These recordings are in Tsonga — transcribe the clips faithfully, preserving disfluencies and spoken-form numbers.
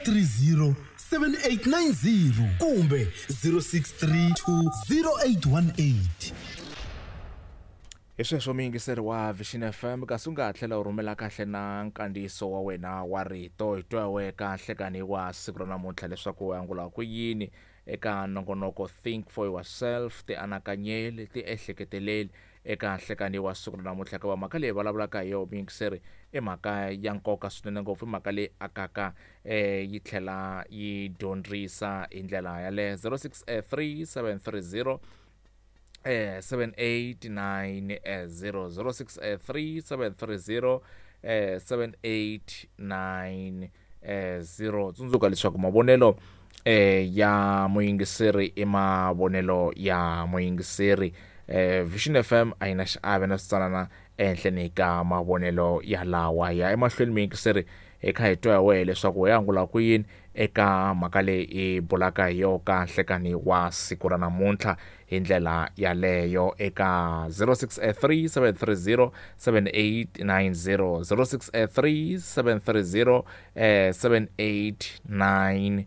three zero seven eight nine zero kumbe zero six three two zero eight one eight. Hi sweswo muyingiseri wa Vision F M, kasi u nga ha tlhela u rhumela kahle na nkandziyiso wa wena wa rito hi twa we kahle kani wa siku ra namuntlha leswaku u angula ku yini eka nongonoko Think for Yourself, ti anakanyeli, ti ehleketeleli eka nhlekani wa siku ra namuntlha. Hikuva mhaka leyi vulavulaka hi yona muyingiseri i mhaka ya nkoka swinene ngopfu, i mhaka leyi akaka eh yi tlhela yi dyondzisa hi ndlela yaleyo. Zero six three seven three zero eh seven eight nine zero, zero six three seven three zero eh seven eight nine zero. Tsundzuka leswaku mavonelo eh ya muyingiseri i mavonelo ya muyingiseri. Eh Vision F M a yi na xiave na switsanana ehenhleni ka mavonelo ya lawa ya emahlweni muyingiseri hi kha hi twa hi wehe leswaku u angula ku yini eka mhaka leyi i bulaka hi yo ka nhlekani wa siku ra namuntlha hi ndlela yaleyo eka zero six three seven three zero seven eight nine zero, zero six three seven three zero seven eight nine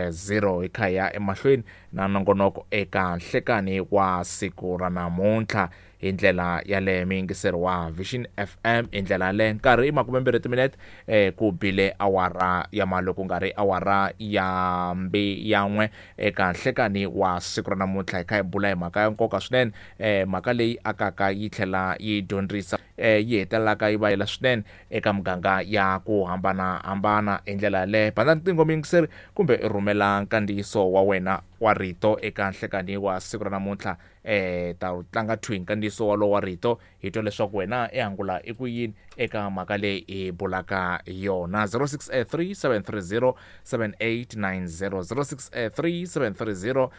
zero. Hi kha ya emahlweni na nongonoko eka nhlekani wa siku ra namuntlha hi ndlela yaleyo muyingiseri wa Vision F M hi ndlela yaleyo. Nkarhi i makumembirhi timinete eh ku bile awara ya maloko nga ri awara ya mbi ya n'we eka nhlekani wa siku ra namuntlha. Hi kha hi bula hi mhaka ya nkoka swinene, eh mhaka leyi akaka yi tlhela yi dyondzisa eh yi hetelelaka yi vayela swinene eka muganga ya ku hambanahambana hi ndlela yaleyo. Banda ntingo muyingiseri kumbe i rhumela nkandziyiso wa wena wa rito eka nhlekani wa siku ra namuntlha eh ta tlanga thwi nkandziyiso walowo wa rito hi twa leswaku wena i angula i ku yini eka mhaka leyi i bulaka yona. Zero six three seven three zero seven eight nine zero, zero six three seven three zero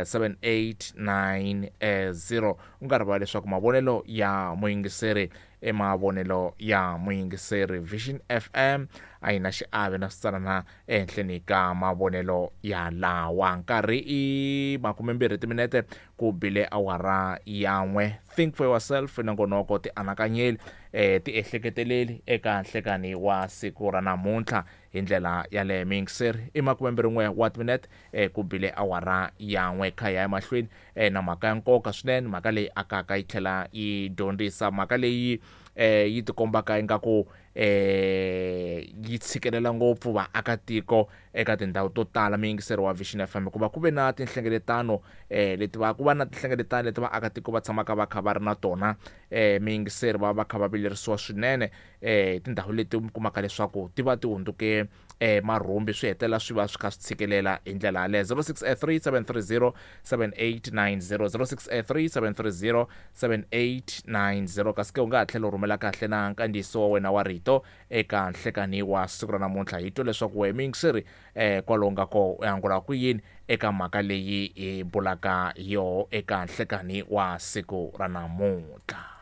seven eight nine zero. U nga rivali leswaku mavonelo ya muyingiseri i mavonelo ya muyingiseri. Vision F M a yi na xiave na switsanana ehenhleni ka mavonelo ya lawa. Nkarhi i makumembirhi timinete ku bile awara ya n'we. Think for yourself, nongonoko ti anakanyeli eh ti ehleketeleli eka nhlekani wa siku ra namuntlha hi ndlela yaleyo muyingiseri. I makumembirhi n'we wa timinete eh ku bile awara ya n'we. Kha ya emahlweni eh na mhaka ya nkoka swinene, mhaka leyi akaka yi tlhela yi dyondzisa, mhaka leyi eh yi tikombaka ingaku eh yi tshikelela ngopfu vaakatiko eka tindhawu to tala muyingiseri wa Vision F M, hikuva ku ve na tinhlengeletano eh leti va ku va na tinhlengeletano leti vaakatiko va tshamaka va kha va ri na tona eh muyingiseri va va kha va vilerisiwa swinene eh tindhawu leti mi kumaka leswaku ti va ti hundzuke eh marhumbi, swi hetelela swi va swi kha swi tshikelela hi ndlela yaleyo. Zero six three seven three zero seven eight nine zero, zero six three seven three zero seven eight nine zero. Kasi ke u nga ha tlhela u rhumela kahle na nkandziyiso wa wena wa rito eka nhlekani wa siku ra namuntlha hi twa leswaku we muyingiseri eh kwalomu nga ko u angula ku yini eka mhaka leyi hi bulaka yo eka nhlekani wa siku ra namuntlha.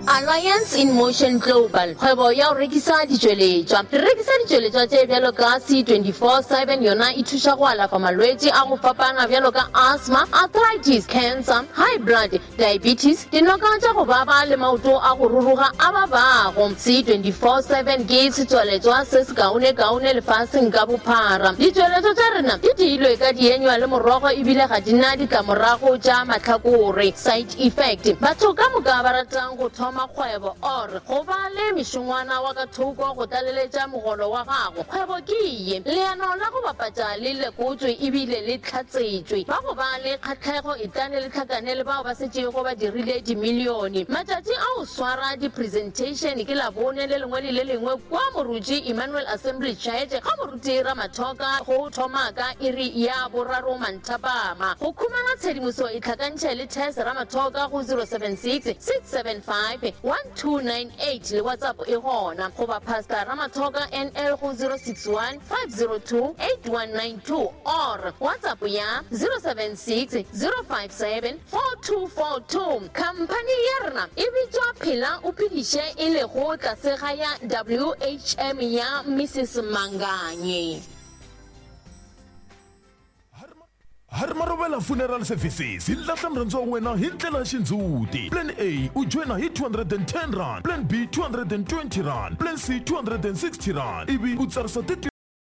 Alliance in Motion Global, kgwebo ya go rekisa ditšweletšwa. Re rekisa ditšweletšwa tše bjalo ka C twenty-four seven, yona e thuša go alafa malwetši a go fapana bjalo ka asthma, arthritis, cancer, high blood, diabetes, dinoka tša go baba le maoto a go ruruga a babago. C twenty-four seven ke setswaletšwa se se kaone-kaone lefaseng ka bophara. Ditšweletšwa tša rena di diilwe ka dienywa le morogo ebile ga di na ditlamorago tša mahlakore, side effect. Batho ka moka ba ratang go thoma kgwebo or go ba le mešongwana wa ka thoko go tlaleletša mogolo wa gago, kgwebo ke ye. Leano la go bapatša le lekotswe ebile le tlhatsetšwe. Ba go ba le kgatlhego e tlane le tlhakane le bao ba setšego ba dirile dimilione. Matšatši a go swara di-presentation ke Labone le lengwe le le lengwe kwa Moruti Emmanuel Assembly Church ga Moruti Ramathoka go thoma ka iri ya boraro manthapama. Go khumana tshedimoso e tlhakantšhe le Tess Ramathoka go zero seven six six seven five one two nine eight le WhatsApp e gona, goba Pastor Ramathoka N L go zero six one five zero two eight one nine two or WhatsApp ya zero seven six zero five seven four two four two. Company ya rena e bitswa Phela o Phediše e lego tlase ga ya W H M ya Missus Manganye. Harmarobela Funeral Services hi lahla murhandzi wa wena hi ndlela ya xindzhuti. Plan A u joina hi two hundred and ten rand, Plan B two hundred and twenty rand, Plan C two hundred and sixty rand, ivi u tsarisa